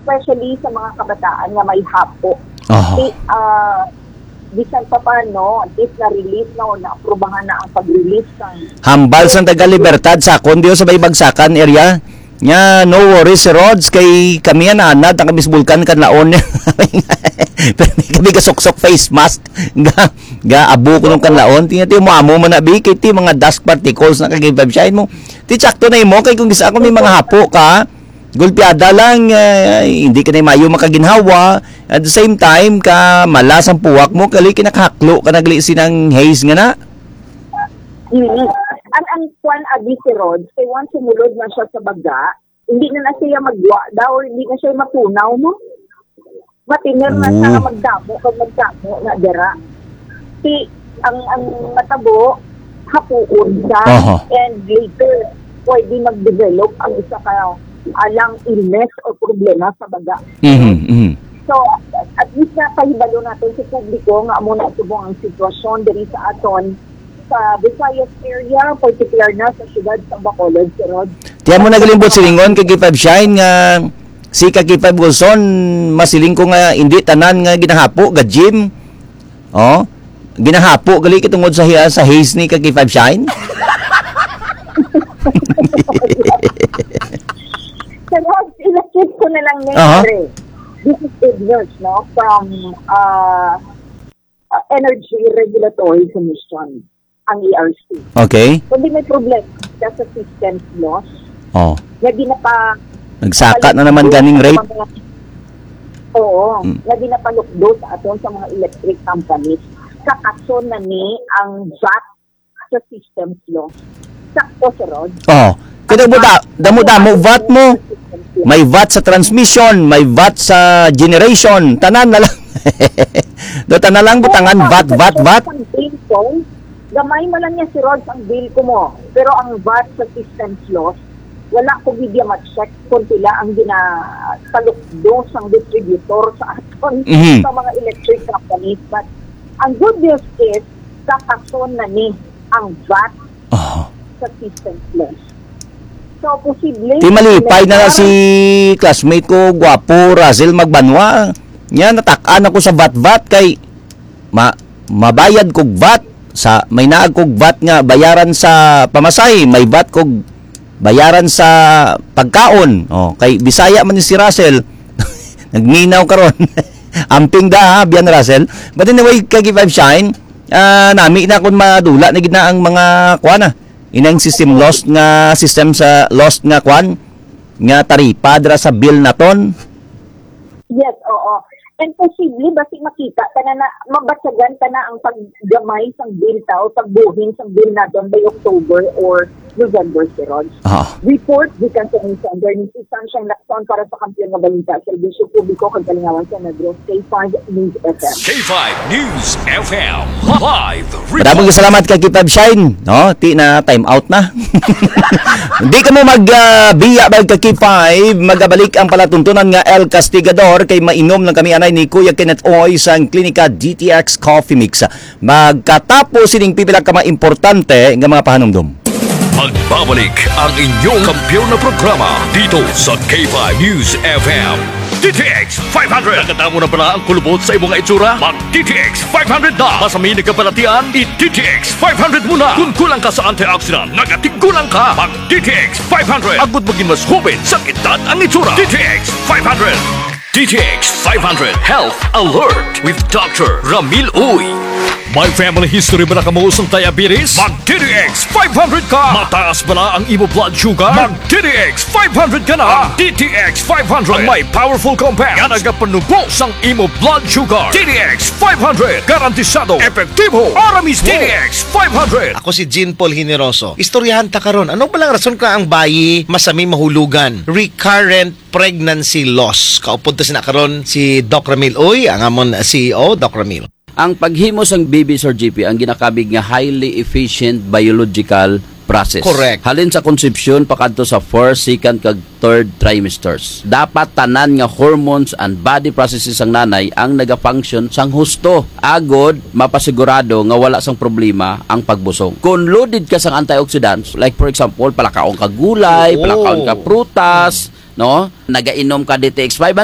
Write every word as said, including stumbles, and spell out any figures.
Especially sa mga kabataan nga may hapo. Aha. Di, ah, bisan pa paano, at least na-release na o naaprubahan na ang pag-release ng Hambal sang taga Libertad, sakon diyo sa may Bagsakan area. Nya, no worries, Sir Rods, kay kami yan, anad, ang kami sa Bulkan, Kanlaon. Pero di kami gasuksok face mask. Ga, ga, abo ko nung Kanlaon. Tingnan, tingnan mo, amo man na, bi, kay ti mga dust particles na kagibabsyahin mo. Ti, tsakto na imo, kay kung gisa ako may mga hapo ka, gulpiada lang, eh, hindi ka na mayo makaginhawa. At the same time, ka malas ang puwak mo, kali kinakahaklo ka nagli sinang haze nga na. Mm. Ang, ang kwan, abi, Sir Rod, kay once sumulod na siya sa baga, hindi na na siya magwa daw, hindi na siya matunaw, no? Matiner na siya nga Oo. magdamo, kag magdamo na dira. Si, ang, ang matabo, hapuon siya, Aha. and later, pwede mag-develop ang isa ka, ah, lung illness o problema sa baga. Mhm, mhm. So, at least na kahibalo natin sa publiko nga amo na subong ang sitwasyon diri sa aton sa Visayas area, particular na sa siyudad sa Bacolod, Sir Rod. Tiyan mo nagalimbot silingon kay K five Shine nga si ka K five Wilson, masiling ko nga hindi tanan nga ginahapo ga gym. Oh, ginahapo gali kitungod sa hiya sa haze ni ka K five Shine. Sir Rod, ilakip ko na lang ni Aha. Pare. This is good news, no? From uh, uh, Energy Regulatory Commission, ang E R C. Okay. Kundi may problema sa systems loss Oh. na di na pa Nagsaka na naman ganing rate. Oo, Mm. na di na palukdo sa aton sa mga electric companies. Kakason na ni ang vat sa systems loss. Sakto, Sir Rod. Oh. Kaya mo da, damo-damo vat mo. May vat sa transmission, may vat sa generation, tanan na lang. Do tanan lang butangan vat, vat, vat. Gamay man lang niya si Rod ang bill ko mo. Pero ang vat sa systems loss, wala ko gid ma-check kung pila ang ginatalukdo sang distributor sa aton Mhm. sa mga electric companies. But ang good news is, kakason na ni ang vat Aha. sa systems loss. So, posible Ti malipay na na si classmate ko, gwapo, Russell Magbanwa. Nya, natak-an ako sa vat-vat kay ma-, mabayad kog vat sa, may naag kog vat nga bayaran sa pamasay, may vat kog bayaran sa pagkaon. Oh, kay Bisaya man ni si Russell. Nagminaw karon. Amping da, ha, Bian Russell. But anyway, kay K five Shine, ah, nami na kung madula na gid na ang mga kuan na. Inang system lost nga, system sa lost nga kuan, nga taripa dira sa bill naton. Yes, oo. And posible, basi makita ta na, na mabatyagan ta na ang paggamay sang bill ta o pagbuhin sang bill naton by October or November, Sir Rod. Ah. Report gikan sa News Center ni si Sunshine Lacson para sa Kampiyon nga Balita, Serbisyo Publiko kag Kalingawan sa Negros, K five News F M. K five News F M, live report. Maraming salamat kay K five Shine, no? Ti na time out na. Di ka mo mag, ah, biya ba ka K five, magabalik ang palatuntunan nga El Castigador kay mainom lang kami anay ni Kuya Kenneth Oy sang Klinika D T X Coffee Mix. Magkatapos sining pipila ka mga importante nga mga pahanumdom. Magbabalik ang inyong kampiyon na programa dito sa K five News F M. D T X five hundred. Nakadamo na bala ang kulubot sa imong itsura? Mag D T X five hundred na. Masami nagkabalatian, i D T X five hundred muna. Kung kulang ka sa antioxidant, nagatiggulang ka. Mag D T X five hundred. Agud maging mas hubin sa edad ang itsura. D T X five hundred. D T X five hundred Health Alert with Doctor Ramil Uy. May family history ba na kamo sang diabetes? Mag D T X five hundred ka! Mataas ba na ang imo blood sugar? Mag D T X five hundred ka na! Ang D T X five hundred ang may powerful compound nga nagapanubo sang imo blood sugar. D T X five hundred, garantisado, epektibo, ahora mismo. D T X five hundred. Ako si Jean Paul Generoso. Istoryahan ta karon, ano ba lang rason ka ang bayi masami mahulugan? Recurrent pregnancy loss. Kaupod ta sina karon si Doc Ramil Uy, ang amon C E O, Doc Ramil. Ang paghimo sang baby, Sir G P, ang ginakabig nga highly efficient biological process. Correct. Halin sa konsepsyon pakadto sa first, second, kag third trimesters. Dapat tanan nga hormones and body processes sang nanay ang nagafunction sang husto. Agod, mapasigurado nga wala sang problema ang pagbusong. Kung loaded ka sang antioxidants, like for example, palakaon ka gulay, Oo. palakaon ka prutas, no? Nagainom ka D T X five hundred,